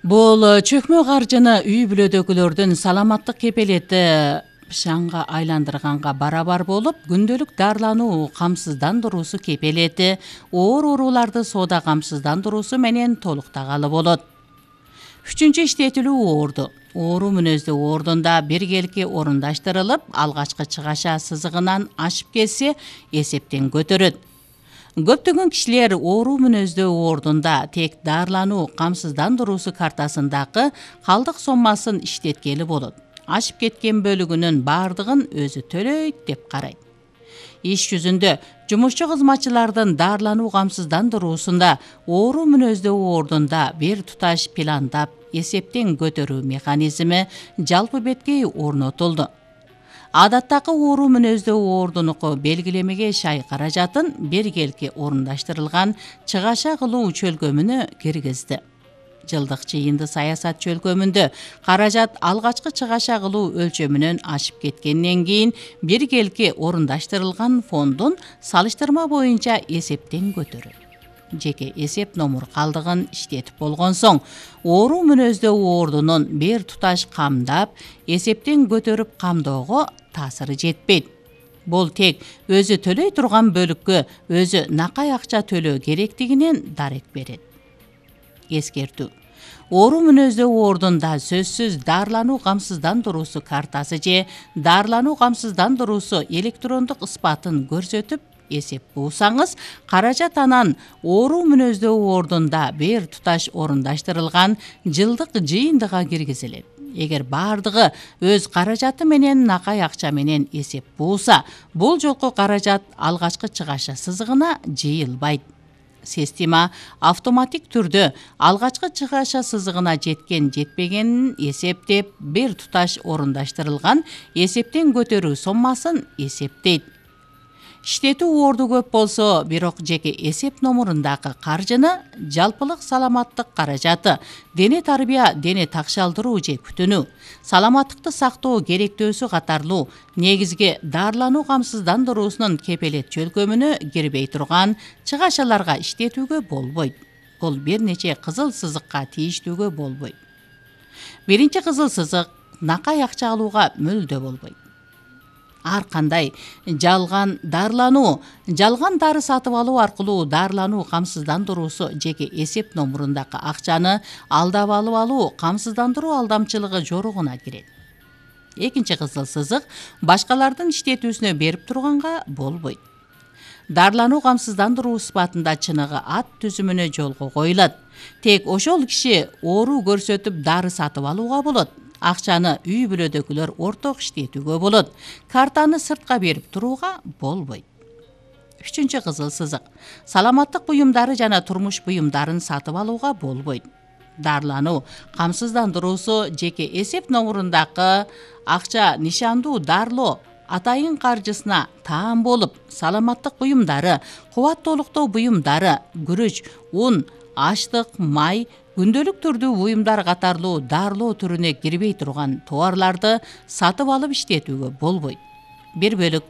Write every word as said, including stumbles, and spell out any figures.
Бул чөкмө каржыны үй бүлөдөгүлөрдүн саламаттык кепелети шаңга айландырганга барабар болуп, күндөлүк дарылануу камсыздандыруусу кепелети оор ооруларды соода камсыздандыруусу менен толуктагалы болот. Үчүнчү иштетилүү оорду. Оору мүнөздүү оордунда биргелки орундаштырылып, алгачкы чыгаша сызыгынан ашып кетсе, эсептен көтөрөт. Көптөгөн кишилер оору мүнөздүү оордунда тек дарылануу камсыздандыруусу картасындагы калдык соммасын иштеткели болот. Ашып кеткен бөлүгүнүн бардыгын өзү төлөйт деп карайт. Иш жүзүндө жумушчу кызматчылардын дарылануу камсыздандыруусунда оору мүнөздүү оордунда бир туташ пландап, эсептен көтөрүү механизми жалпы беткей орнотулду. Адаттагы оору мүнөздүү оордунуку белгилемеге шай каражатын биргелки орундаштырылган чыгаша кылуу чөлкөмүнө киргизди. Жылдык жыйынды саясат чөлкөмүндө каражат алгачкы чыгаша кылуу өлчөмүнөн ашып кеткенден кийин биргелки орундаштырылган фондун салыштырма боюнча эсептен көтөрөт. Жеке эсеп номур калдыгын иштетип болгон соң, оору мүнөздүү оордунун бир туташ камдап, эсептен көтөрүп камдоого таасыры жетпейт. Бул тек өзү төлөй турган бөлүккө өзү накай акча төлөө керектигинен дарек берет. Эскертүү. Оору мүнөздүү оордунда сөзсүз дарылануу камсыздандыруусу картасы же дарылануу камсыздандыруусу электрондук ыспатын көрсөтүп эсеп буусаңыз, каражат анан оору мүнөздүү оордунда бир туташ орундаштырылган жылдык жыйындыга киргизилет. Эгер бардыгы өз каражаты менен накай акча менен эсеп бууса, бул жолку каражат алгачкы чыгаша сызыгына жыйылбайт. Система автоматик түрдө алгачкы чыгаша сызыгына жеткен жетпегенин эсептеп, бир туташ орундаштырылган эсептен көтөрүү соммасын эсептейт. Иштетүү оорду көп болсо, бирок жеке эсеп номурундагы каржыны жалпылык саламаттык каражаты, дене тарбия, дене такшалдыруу же күтүнүү, саламаттыкты сактоо керектөөсү катарлуу негизги дарылануу камсыздандыруусунун кепелет чөлкөмүнө кирбей турган чыгашаларга иштетүүгө болбойт. Бул бир нече кызыл сызыкка тийиштүүгө болбойт. Биринчи кызыл сызык накай акча алууга мүлдө болбойт. Ар кандай жалган дарылануу, жалган дары сатып алуу аркылуу дарылануу камсыздандыруусу жеке эсеп номурундагы акчаны алдап алып алуу камсыздандыруу алдамчылыгы жоругуна кирет. Экинчи кызыл сызык башкалардын иштетүүсүнө берип турганга болбойт. Дарылануу камсыздандыруу сыпатында чыныгы ат түзүмүнө жолго коюлат. Тек ошол киши оору көрсөтүп дары сатып алууга болот. Акчаны үй бүлөдөгүлөр орток иштетүүгө болот. Картаны сыртка берип турууга болбойт. Үчүнчү кызыл сызык. Саламаттык буюмдары жана турмуш буюмдарын сатып алууга болбойт. Дарылануу камсыздандыруусу жеке эсеп номурундагы акча нишандуу дарылоо атайын каржысына таан болуп, саламаттык буюмдары, кубаттуулуктоо буюмдары, күрүч, ун, аштык, май, күндөлүк түрдүү буюмдар катарлуу дарылоо түрүнө кирбей турган товарларды сатып алып иштетүүгө болбойт. Бир бөлүк